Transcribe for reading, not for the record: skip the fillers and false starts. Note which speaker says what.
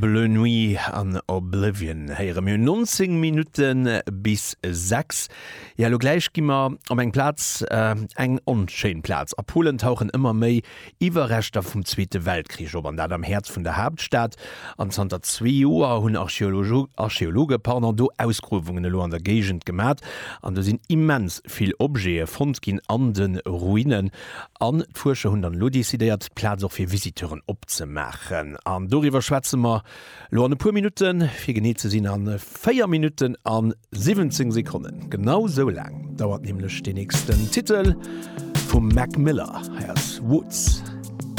Speaker 1: Bleu Nuit an Oblivion héiere mir 19 Minutte bis 6. Ja, elo gläich gi mer op eng Plaz, eng onschéin Plaz. A Polen tauchen ëmmer méi Iwwerreschter vum Zweete Weltkrich op, an dat am Häerz vun der Haaptstad. An zanter zwee Joer hunn Archeologe pardon, do Ausgruewungen elo an der Géigend gemat. An do sinn immens vill Objete fonnt ginn an de Ruinen. An d'Fuerscher hunn dann elo decidéiert, d'Plaz och fir Visiteuren opzemaachen. An doriwwer schwätze mer elo an e puer Minutten, fir genee ze sinn a 4 Minutten a 17 Sekonnen. Genau sou laang dauert nämlech dee nächsten Titel vum Mac Miller. Hei ass Woods.